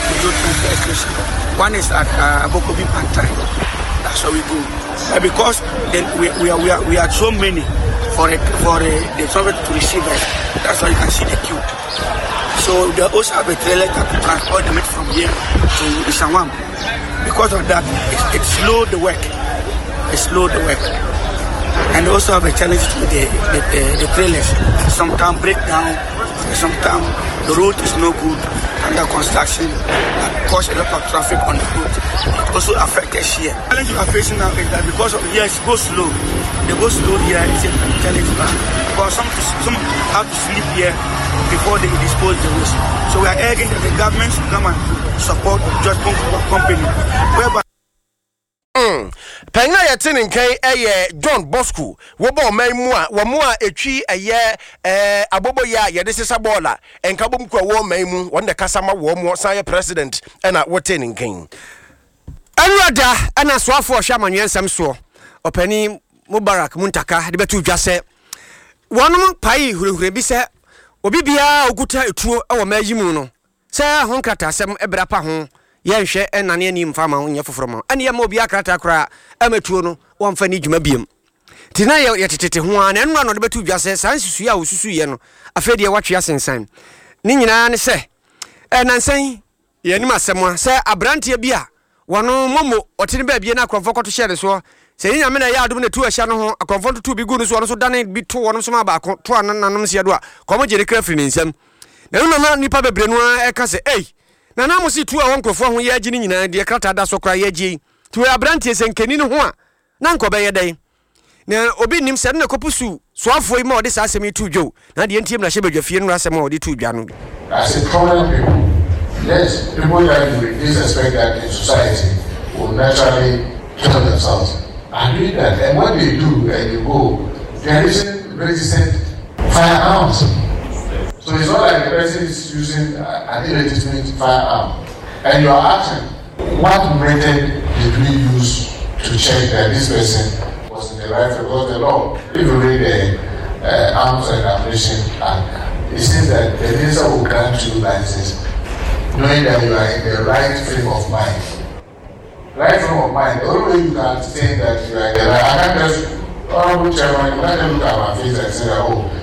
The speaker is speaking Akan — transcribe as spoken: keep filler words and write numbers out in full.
Kojo transfer station. One is at uh, Abokobi Pantai. That's where we go. But because then we, we, are, we, are, we are so many for, a, for a, the truck to receive us, that's why you can see the queue. So they also have a trailer that to transport the meat from here to Nsawam. Because of that, it, it slowed the work. It slowed the work. And also have a challenge with the, the, the, the trailers. Sometimes break down, sometimes the road is no good under construction that cause a lot of traffic on the road. It also affects us here. The challenge we are facing now is that because of here it's go slow. They go slow here, it's a challenge because some some have to sleep here before they dispose the waste. So we are urging that the government should come and support Jospong company whereby Mm. Panyin a yɛte ne nkan yɛ John Bosco. Wɔbɔ ɔman mu a wɔn mu a etwi ɛyɛ ɛɛ aboboyɛ a yɛde sesa bɔɔla nkabom kɔ ɛwɔ ɔman mu, wɔn de kasa ma wɔn mu san yɛ president ɛna wɔte ne nkan. Ɛwurada ɛna soafoɔ ɔhwɛ amanneɛ nsɛm soɔ, Ɔpanin Mubarak Muntaka, de bɛto dwa sɛ wɔnom pae hurahura bi sɛ obi biara a ɔkuta etuo wɔ ma yi mu no sɛ ho nkrataasɛm ɛbrɛ pa ho yɛnhwɛ ɛnane ani mfa ma ho nyɛ foforɔ ma ɛne yɛma obiara krataa koraa ɛma tuo no wɔmfa ne dwuma biam. Nti na yɛtetete ho a na ɛnora na ɔde bɛto dwa sɛ saa nsusua a wɔsusuiɛ no, afei deɛ watwe asensan ne nyinaa ne sɛ ɛnansan yɛnim asɛm a sɛ aberanteɛ bi a wɔno momo ɔte ne baabie na akorɔmfoɔ kɔto hyɛ ne soɔ sɛ yɛ Nyame na ɛyɛ adom na tu ahyɛ no ho akorɔmfoɔ toto bi gu no so, ɔno so dane bi to wɔnom so ma baako to a nanom seɛ do a kɔmɔ gye ne kra firi ne nsam. Na ɛno nana nnipa bebree no ara ɛka sɛ ei, nana mo se tu a wɔ nkurɔfoɔ ho yɛagye no nyinaa deɛ krataa da so koraa yɛagye yi, nti wɔyɛ aberanteɛ sɛ nkani no ho a na nkɔbɛyɛ dɛn? Na obi nim sɛ ɛno na ɛkɔpo su soafoɔ yi ma ɔde saa asɛm yi to dwa. Na deɛ ntie mmarahyɛ badwa fie no asɛm a ɔde to dwa no. As a prominent people, yes, people that you would expect that in society will naturally kill themselves are doing that. And when they do and you go, they are using registered firearms. So it's not like the person is using an illegitimate firearm. And you are asking, what method did we use to check that this person was in the right? Because the law, if you read the uh, Arms and Ammunition Act, it says that the minister will grant you license knowing that you are in the right frame of mind. Right frame of mind, the only way you can say that you are in the right, I can't just, Honorable Chairman, you can't just look at my face and say that, oh,